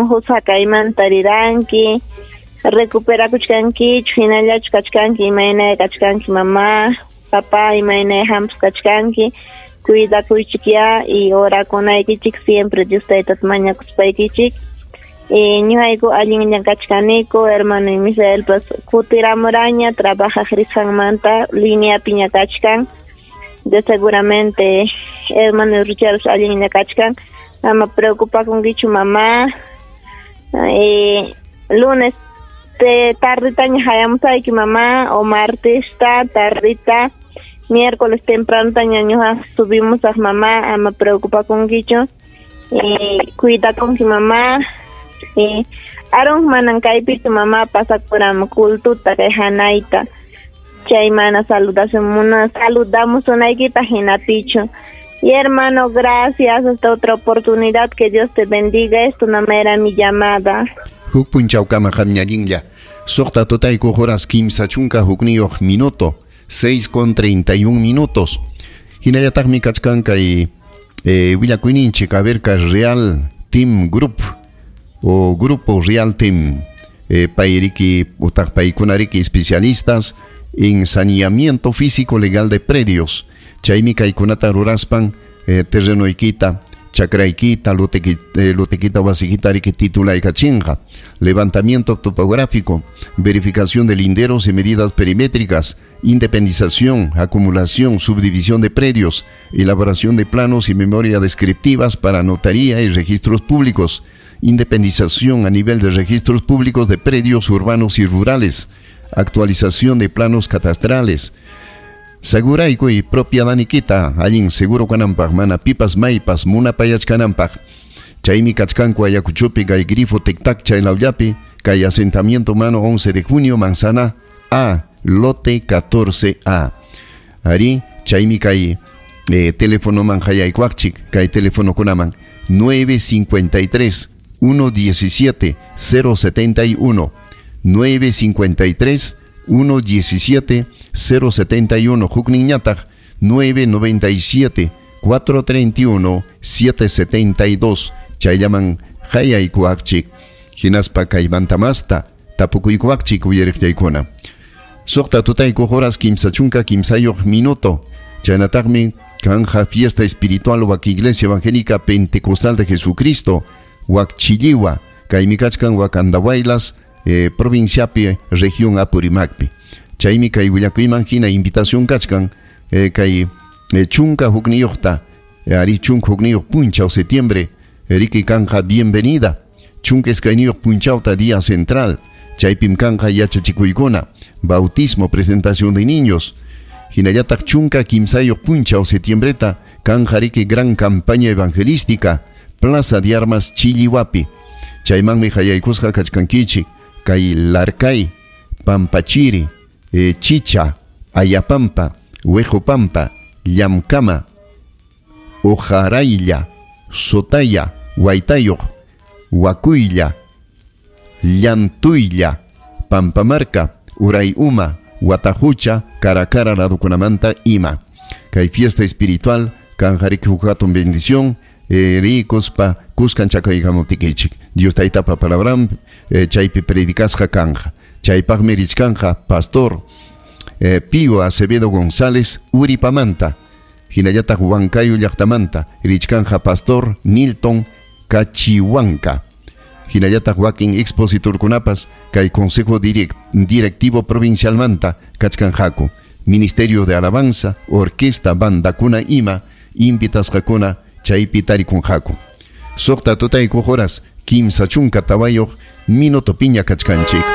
Muhusa kaymanta riranki, recuperakuchkankichu, hinallachu kachkanki, imaynaya kachkanki mamá, papá, imaynaya hampas kachkanki, cuidakuychik ya y orakunaykichik siempre Dios taytata mañakuspaykichik. Ñuqayku allinlla kachkaniku, hermano Misaelpas kutiramuraña trabajaq risqanmanta lineapiña kachkan. De seguramente hermano Richard allinlla kachkan. Ama preocupakunkichu mamá. Lunes te tarditaña hayamusayki mamá o martesta tardita, miércoles tempranotaña ñuqa subimos a mamá, ama preocupakunkichu. Cuidakunki mamá. Aaron manan kaypichu mamá pasakuram cultuta kay hanayta. Chay mana saludamos unaykita hinapichu. Y hermano, gracias, hasta otra oportunidad, que Dios te bendiga, esto no era mi llamada. Huk punchawkama qamñallinlla. Suqta tutayku horas kimsa chunka hukniyuq minuto, 6:31 minutos. Hinallataqmi kachkan kay willakuyninchik, a ver, kay Real Team Group o Grupo Real Team, payriki utaq paykunariki especialistas en saneamiento físico legal de predios. Chaymi kaykunata ruraspan terrenoykita, chakraykita, lotekita, wasikita riki titulaykachinqa. Levantamiento topográfico, verificación de linderos y medidas perimétricas, independización, acumulación, subdivisión de predios, elaboración de planos y memoria descriptivas para notaría y registros públicos, independización a nivel de registros públicos de predios urbanos y rurales, actualización de planos catastrales. Saguraykuy propiedadnikita, allin seguro kananpaq, mana pipas maypas munapayachkananpaq. Chaymi kachkanku Ayacuchopi kay grifo tic-tac chaylawllapi, kay asentamiento humano 11 de junio, manzana A, lote 14A. Ari, chaymi kay teléfono man hayaykuaqchik, kay teléfono kunaman 953 117 071, 953 117 071, hukninñataq 997 431 772, chayllaman hayaykuaqchik, hinaspa kaymanta masta tapukuykuaqchik uyariqtaykuna. Suqta tutayku horas kimsa chunka kimsayuq minuto, chaynataqmi kanja fiesta espiritual wak Iglesia Evangélica Pentecostal de Jesucristo, wak Chilliwa, kaymi kachkan wak Andahuaylas, provinciapi, región Apurímacpi. Chaymi kay willakuyman hina invitación kachkan, kay chunka hukniyuqta, ari chunka hukniyuq punchaw septiembre, riki kanja bienvenida, chunka iskayniyuq punchawta día central, chaypim kanja yachachikuykuna, bautismo, presentación de niños. Hinallataq chunka kimsayuq punchaw septiembreta kanja riki gran campaña evangelística, Plaza de Armas Chilliwapi. Chaymanmi hayaykusqa kachkankichik, kay Larcay, Pampachiri, Chicha, Ayapampa, Huejopampa, Llamcama, Ojaraylla, Sotaya, Huaytayuq, Huacuylla, Llantuylla, Pampamarca, Urayuma, Huatajucha, Caracara ladukunamanta ima. Kay fiesta espiritual, kanjariki huk hatun bendición, rikuspa kuskan chakaykamuptikichik. Dios taytapa palabran, chaypi predicasqa kanja. Chaypaqmi richkanja pastor Pío Acevedo González Uripamanta, hinallataq Huancayo llaqtamanta, richkanja pastor Nilton Cachihuanca. Hinallataq wakin expositorkunapas kay Consejo Directivo Provincialmanta kachkanjaku. Ministerio de Alabanza, Orquesta, Bandakuna ima, invitasqakuna chaypi tarikunjaku. Suqta tutayku horas kimsa chunka tawayuq minuto piña kachkanchik.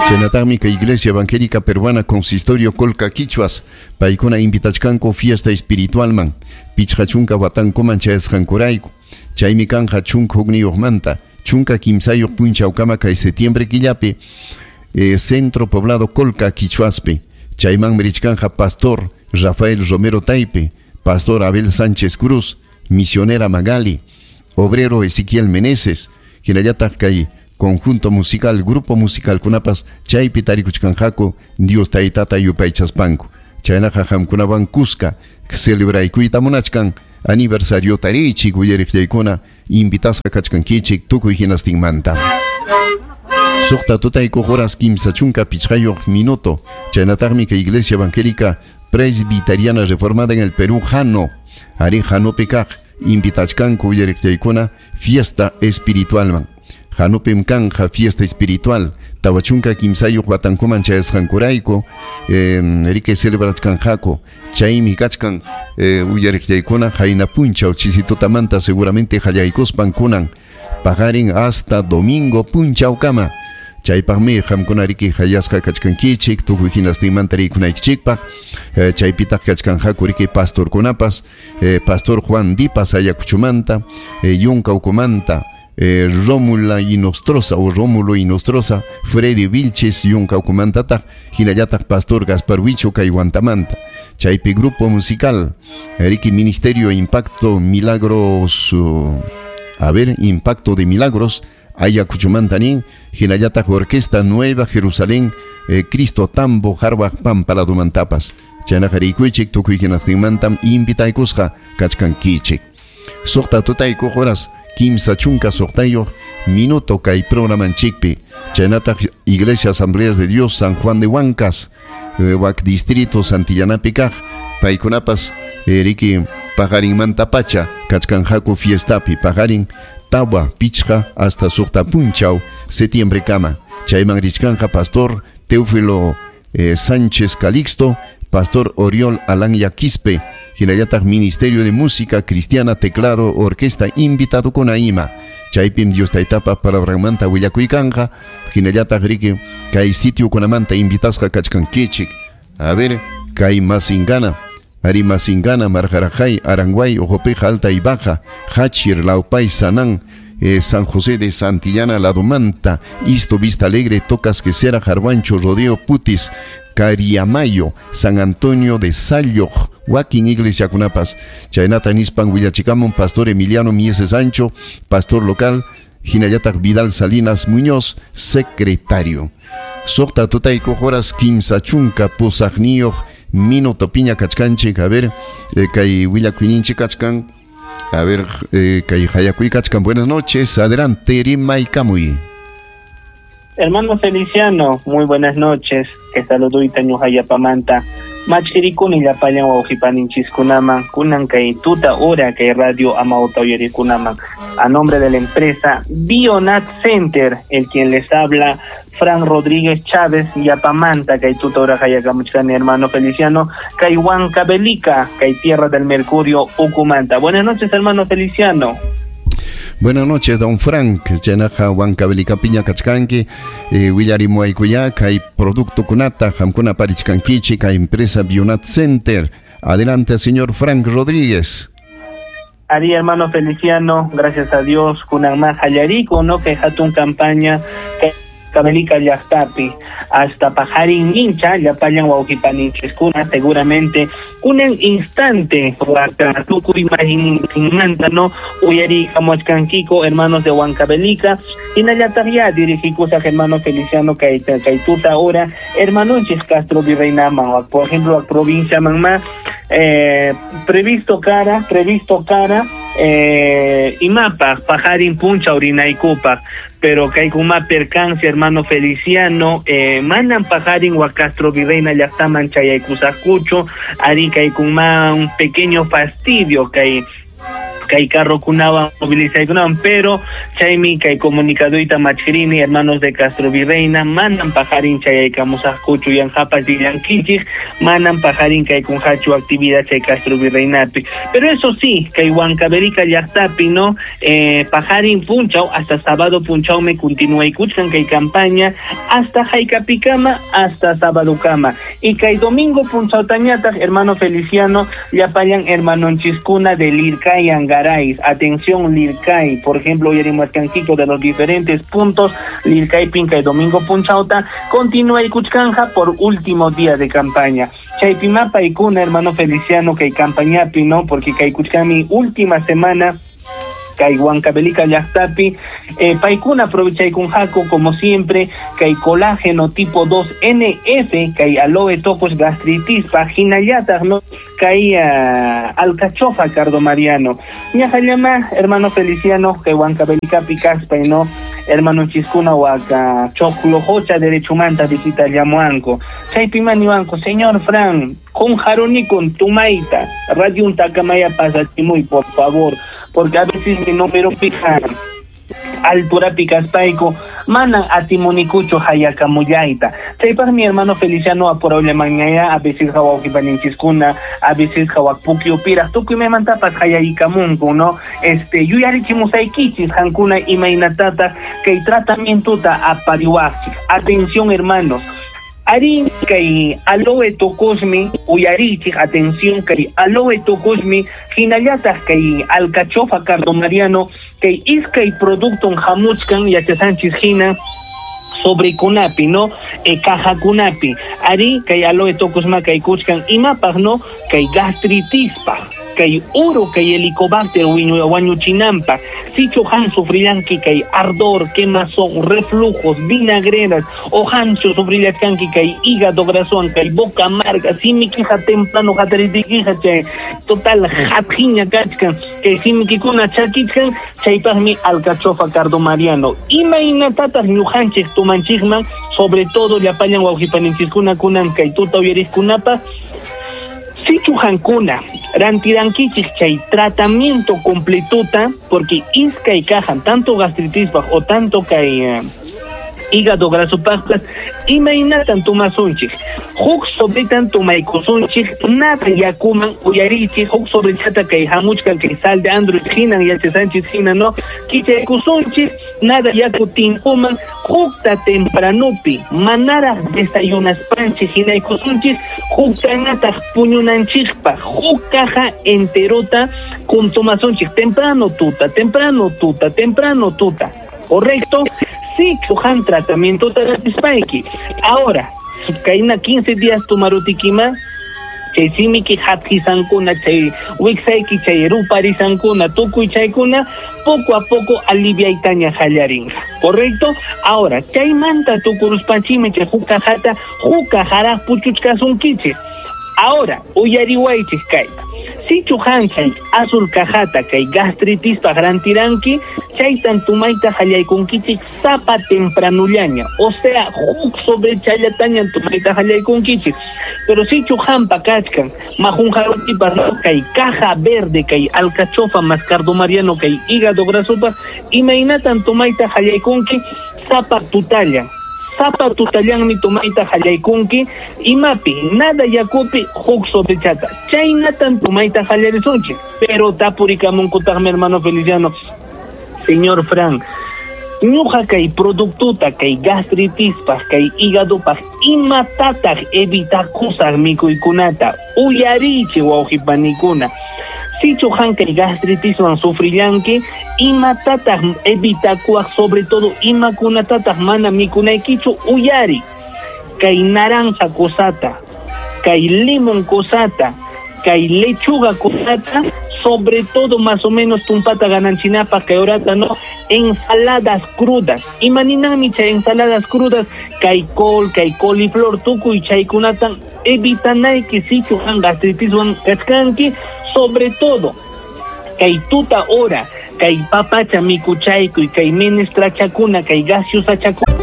Chaynataqmi kay Iglesia Evangélica Peruana Consistorio Colca Quichuas paykuna invitachkanku fiesta espiritualman pichqa chunka watankuman chayasqankurayku. Chaymi kanja chunka hukniyuqmanta chunka kimsayuq punchawkama kay septiembre killapi, Centro Poblado Colca Quichuaspi. Chaymanmi richkanja pastor Rafael Romero Taipe, pastor Abel Sánchez Cruz, misionera Magali, obrero Ezequiel Meneses, hinallataq kay conjunto musical, grupo musical kunapas chaypi tarikuchkanjaku Dios taytata yupaychaspanku. Chaynaqa qamkunawan kuska celebraykuyta munachkan aniversario tarichik uyariqllaykuna Invitasqa kachkankichik tukuy hinastinmanta. Suqta tutaykuq horas 35 minuto. Chaynataqmi kay Iglesia Evangélica Presbiteriana Reformada en el Perú, Jano. Ari Janopi kaq invitachkanku uyariqllaykuna fiesta espiritualman. Janopim kanja fiesta espiritual. 43 watankuman chayasqankurayku riki celebrachkanqaku. Chaymi kachkan uyariqllaykuna qayna punchaw chisitutamanta seguramente qallaykuspan kunan paqarin hasta domingo punchawkama. Chaypaqmi qamkuna riki hayasqa kachkankichik tukuy hinastinmanta rikunaykichikpaq. Chaypitaq kachkanqaku riki pastorkunapas, pastor Juan Dipas Ayacuchumanta, Yuncaucumanta, Rómula Inostroza o Rómulo Inostroza, Freddy Vilches Yuncaucumantataq, hinallataq pastor Gaspar Huicho Kaywantamanta. Chaypi grupo musical, riki Ministerio Impacto Milagros, a ver, Impacto de Milagros, Ayacuchumanta nin, hinallataq Orquesta Nueva Jerusalén, Cristo Tambo, Harwaq Pampa ladumantapas. Chaynaqa rikuychik tukuy hinastinmantam invitaykusqa kachkankichik. Suqta tutaykuq horas 36 minuto kay programanchikpi. Chaynataq Iglesia Asambleas de Dios San Juan de Huancas, wak distrito Santillanapi kaq, paykunapas riki paqarinmanta pacha kachkanqaku fiestapi paqarin tawa pichqa hasta suqta punchaw septiembre kama. Chayman richkanqa pastor Teófilo Sánchez Calixto, pastor Oriol Alanya Quispe, hinallataq Ministerio de Música Cristiana, Teclado, Orquesta, invitado con ima. Chaypim Dios taytapa palabranmanta willakuykanqa, hinallataq riki kay sitio kunamanta invitasqa kachkankichik. A ver, kay Masingana, Ari Masingana, Marjarajay, Aranguay, Ojopeja, Alta y Baja, Hachir, Laupay, Sanán, San José de Santillana, Ladomanta, Isto, Vista Alegre, Tocas, Quesera, Jarvancho, Rodeo, Putis, Cariamayo, San Antonio de Sayoc, Wakin Iglesia Kunapas, Chaynata nispan willachikamun pastor Emiliano Mieses Sancho, pastor local, hinallataq Vidal Salinas Muñoz, secretario. Suqta tutaykuq horas 38 minuto piña kachkanchik. A ver, kay willakuyninchik kachkan. A ver, kay hayakuy kachkan. Buenas noches, adelante, rimaykamuy. Hermano Feliciano, muy buenas noches. Que saluduyta ñuqayapamanta. Machirikuni llapallan wawqipaninchikkunaman, kunan kay tuta hora kay radio Amauta uyarikunaman. A nombre de la empresa Bionat Center, el quien les habla, Fran Rodríguez Chávez, Yapamanta, kay tuta hora hayakamuchkani hermano Feliciano, kay Huancavelica, kay Tierra del Mercurio, Ucumanta. Buenas noches, hermano Feliciano. Buenas noches, don Frank. Chaynaqa Huancavelica piña kachkanki, willarimuaykuya kay producto kunata qamkuna parichkankichik kay empresa Bionat Center. Adelante, señor Frank Rodríguez. Ari, hermano Feliciano, gracias a Dios, kunan más hallariko, no que hatun campaña que Huancavelica llaqtapi hasta pajarin hincha llapallan wawqipaninchiskuna seguramente kunan instante tukuy imaginmanta no uyarikamuachkankiko hermanos de Huancavelica hinallataq ya dirigikusaq hermano Feliciano kay tuta hora hermanonchis Castro Virreinaman, por ejemplo a provincia manma previsto cara imapaq pajarin puncha urinaykupaq, pero kaykuma percance hermano Feliciano, mandan pajarin wa Castro Virreina llaqtaman chayaykusaqkuchu, ari kaykuma un pequeño fastidio kay carro kunawan movilizaykunawan, pero chaymi kay comunicaduyta machkirini hermanos de Castro Virreina manan pajarin chayaykamusaqkuchu yanqapas dillankichik manan pajarin kay kunqachu actividad chay Castro Virreinapi, pero eso sí kay Huancavelica llaqtapi no pajarin punchaw hasta sábado punchaw me continuaykuchkan kay campaña hasta haykapikama hasta sábado kama y kay domingo punchawtañataq hermano Feliciano llapallan hermanonchiskuna de Lircay Angaray. Atención Lircay, por ejemplo, uyarimuachkanchiko de los diferentes puntos, Lircay, Pinca y Domingo Punchauta, continúa y Cuchcanja por último día de campaña. Chaypimapa y Cuna, hermano Feliciano, que campañapi, ¿no? Porque kay Cuchcami última semana Kay Huancavelica llaqtapi paykuna aprovechaykunqaku como siempre kay colágeno tipo 2 NF kay aloe tocos gastritispa hinallataq, no, kay alcachofa cardomariano. Ñaqallama, hermano Feliciano, kay Huancavelicapi kaspay, no, hermano chiskuna waka choclojocha derechumanta visita llamuanco chaypi maniwanco: "Señor Fran, con jaronikun tumaita radio takamaya pasachimuy, por favor, porque a veces mi número pija alturapi kaspayku manan atimunikuchu hayakamullayta". Chaypaq mi hermano Feliciano apurayllamanñaya, a veces wawqipaninchiskuna, a veces pukyupiraq tukuy maymantapas hayaykamunku, no, yuyarichimusaykichis hankuna imaynatataq kay tratamientota apariwaqchik. Atención, hermanos. Arin kay aloe tocosmi, uyarichik, atención, kay aloe tocosmi hinallataq kay alcachofa cardomariano, kay iskay producton hamuchkan yachasanchis hina sobrekunapi, no, cajakunapi. Ari kay aloe tocosma kay kuchkan imapaq, no, kay gastritispaq, kay uro, kay helicobacter wañuchinanpaq. Sichu han sufrillanki kay ardor, quemazón, reflujos, vinagreras, o hanchu sufrillachkanki kay hígado grasowan, kay boca amarga, simikija temprano hataritikiqa chay total hathiña kachkan, kay simikikuna chakichkan, chaypaqmi alcachofa cardomariano. Imaynatataq ñuqanchik tumanchikman? Sobre todo llapallan wawqipaninchiskuna kunan kay tuta uyariqkunapaq, sichu hankuna rantirankichik chay tratamiento completuta, porque iskay cajan tanto gastritispaq o tanto kay hígado grasopaqpas, imaynatan tumasunchik? Huk sobretan tumaykusunchik nada yakuman. Uyarichik, huk sobrechata kay hamuchkan kay sal de android hinan yachasanchis hina, no, kichaykusunchik nada yaku tinkuman, hukta tempranupi manaraq desayunaspanchik hinaykusunchik, huktanataq puñunanchikpaq huk caja enterota kuntumasunchik temprano tuta, temprano tuta, temprano tuta. Correcto. Sí, han tratamiento terapispayki. Ahora, kayna 15 días tumarutikima, chay simiki hathisankuna, chay wiksayki, chay ruparisankuna, tukuy chaykuna poco a poco aliviaytaña hallarinqa. Correcto. Ahora, chaymanta tukuruspanchikmi chay huk cajata huk cajaraq puchuchkasunkichik. Ahora, uyariwaychik kayta. Sichu han chay azul cajata kay gastritispaq rantiranki, chaytan tumayta hallaykunkichik sapa tempranullaña, o sea, huk sobrechallataña tumayta hallaykunkichik. Pero sichu hampa kachkan majunjarutipas, no, kay caja verde, kay alcachofa más cardomariano, kay hígado grasopaq, imaynatan tumayta hallaykunki? Sapa tutalla. Sapa tutallanmi tumayta hallaykunki, imapi, nada yakupi huk sobrechata. Chaynatan tumayta hallarisunchik. Pero tapurikamunkutaqmi, hermano Feliciano: "Señor Fran, ñuqa kay productuta kay gastritispaq, kay hígadopaq, imatataq evitakusaq mikuykunata?" Uyarichik, wawqipanikuna. Sichu han kay gastritiswan sufrillanki, imatataq evitakuwaq, sobre todo imakunatataq mana mikunaykichu? Uyari. Kay naranja kusata, kay limón kusata, kay lechuga kusata, sobre todo más o menos tumpata gananchinapaq kay horata, no, ensaladas crudas. Imaninanmi chay ensaladas crudas? Kay col, kay coliflor, tukuy chaykunatan evitanayki sichu han gastritiswan kachkanki. Sobre todo kay tuta hora, kay papacha mikuchaykuy, kay menestrachakuna, kay gaseosachakuna.